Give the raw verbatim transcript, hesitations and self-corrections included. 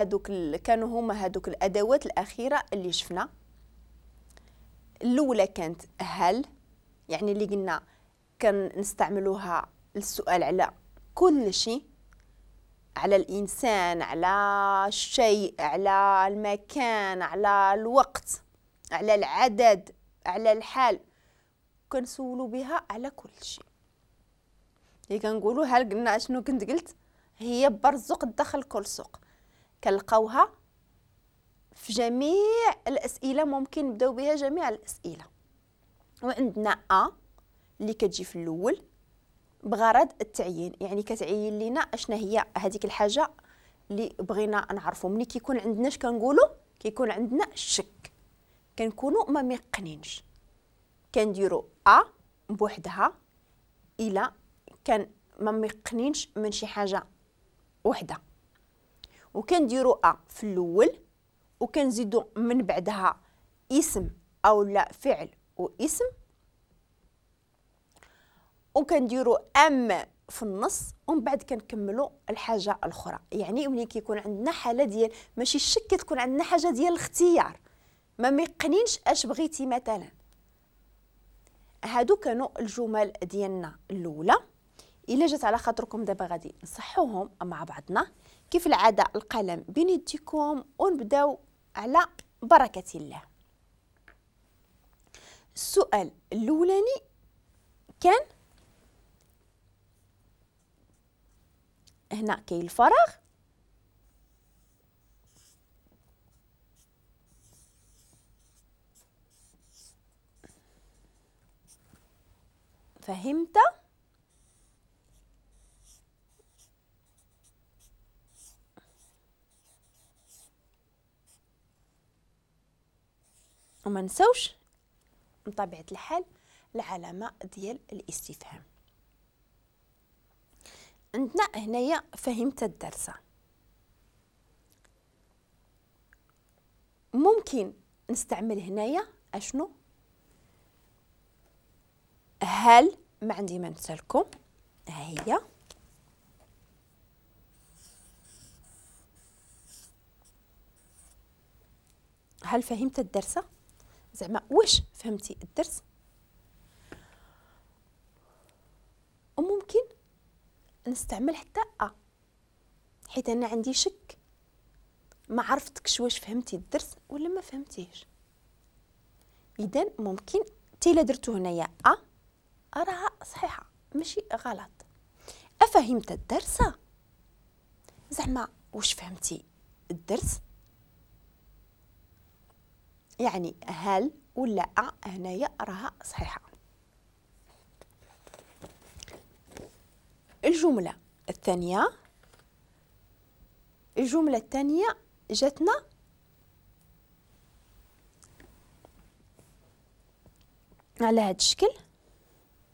هادوك كانوا هما هادوك الادوات الاخيرة اللي شفنا. الاولى كانت هل، يعني اللي قلنا كنستعملوها للسؤال على كل شيء، على الانسان، على الشيء، على المكان، على الوقت، على العدد، على الحال، كنسولو بها على كل شيء. اللي كنقولوا هل قلنا اشنو كنت قلت، هي برزق الدخل كل سوق، كنلقاوها في جميع الاسئلة، ممكن نبداو بها جميع الاسئلة. وعندنا ا اللي كتجي في الاول بغرض التعيين، يعني كتعين لينا اشنا هي هذيك الحاجة اللي بغينا نعرفو. ملي كيكون عندنا اش كنقولوا، كيكون عندنا الشك، كنكونوا ما ميقنينش، كنديروا ا بوحدها الى كان ما ميقنينش من شي حاجة وحده، وكنديروا ا في الاول وكنزيدوا من بعدها اسم او لا فعل واسم، وكنديروا ام في النص، ومن بعد كنكملوا الحاجة الاخرى. يعني ملي كيكون عندنا حاله ديال ماشي الشك، كتكون عندنا حاجة ديال الاختيار، ما ميقنينش اش بغيتي مثلا. هادو كانوا الجمل ديالنا الاولى. الا جات على خاطركم دابا غادي نصحوهم مع بعضنا كيف العادة، القلم بين يديكم ونبداو على بركة الله. السؤال الاولاني كان هنا كاين الفراغ، فهمت؟ وما نساوش بطبيعة الحال العلامة ديال الاستفهام. عندنا هنايا فهمت الدرس، ممكن نستعمل هنايا اشنو؟ هل، ما عندي ما نسالكم، ها هي هل فهمت الدرس، زعما واش فهمتي الدرس. وممكن نستعمل حتى أ، حيت أنا عندي شك، ما عرفتكش واش فهمتي الدرس ولا ما فهمتيش. إذا ممكن حتى إلا درتو هنايا أ راها صحيحة ماشي غلط. أفهمت الدرس، زعما واش فهمتي الدرس، يعني هل ولا أ هنايا راها صحيحة. الجملة الثانية، الجملة الثانية جاتنا على هذا الشكل.